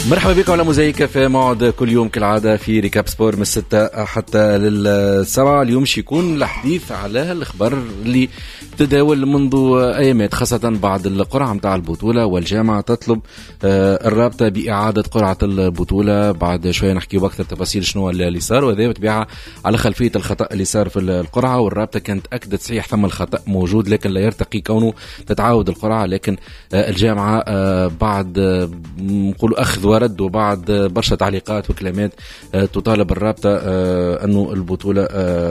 مرحبا بكم على موزايك في موعد كل يوم كالعادة في récap sport من 6 حتى لل7. اليوم يكون الحديث على الخبر اللي تداول منذ ايامات، خاصة بعد القرعة متاع البطولة، والجامعة تطلب الرابطة بإعادة قرعة البطولة. بعد شوية نحكي بأكثر تفاصيل شنو اللي صار، وهذا بالطبيعة على خلفية الخطأ اللي صار في القرعة. والرابطة كانت أكدت صحيح ثم الخطأ موجود، لكن لا يرتقي كونه تتعاود القرعة. لكن الجامعة بعد نقولوا أخذ ورد وبعد برشا تعليقات وكلمات تطالب الرابطة أنه البطولة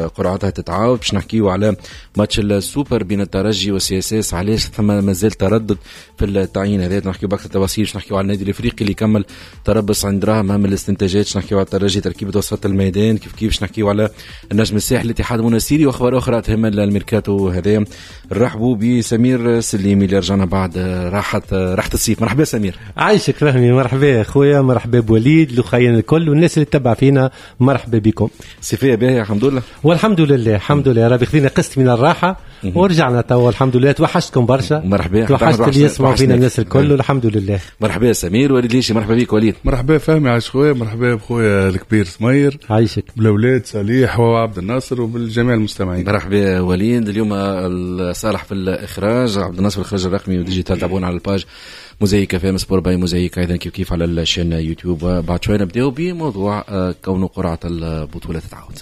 قرعتها تتعاود. باش نحكيو على ماتش السوبر بين الترجي وال CSS، علاش ثم مازال تردد في التعيين هذا، نحكيو باكثر تفاصيل. باش نحكيو على النادي الافريقي اللي كمل تربص عند دراهم، اهم الاستنتاجات. باش نحكيو على الترجي تركيبه وسط الميدان كيف كيف. باش نحكيو على النجم الساحلي، الاتحاد المنستيري، واخبار اخرى تهم الميركاتو هذا. نرحبوا بسمير سليمي اللي رجعنا بعد راحه الصيف. مرحبا سمير. عايشك فهمي، مرحبا خويا، مرحبا بوليد الاخيين الكل والناس اللي تتبع فينا، مرحبا بكم. صيفية باهيه الحمد لله. والحمد لله، الحمد لله ربي خذينا قسط من الراحة ورجعنا توا الحمد لله. توحشتكم برشا. مرحبا. توحشت اللي يسمعوا فينا الناس الكل والحمد لله. مرحبا سمير. وليد ليشي، مرحبا بك وليد. مرحبا فهمي، عايش خويا. مرحبا بخويا الكبير سمير. عايشك. بالاولاد صليح وعبد الناصر وبالجميع المستمعين. مرحبا وليد. اليوم صالح في الاخراج، عبد الناصر في الاخراج الرقمي و digital. تابعونا على ال page موزايك FM sport by موزايك، ايضا كيف كيف على ال chaîne YouTube. بعد شوي نبداو بموضوع كون قرعه البطولة تتعاود.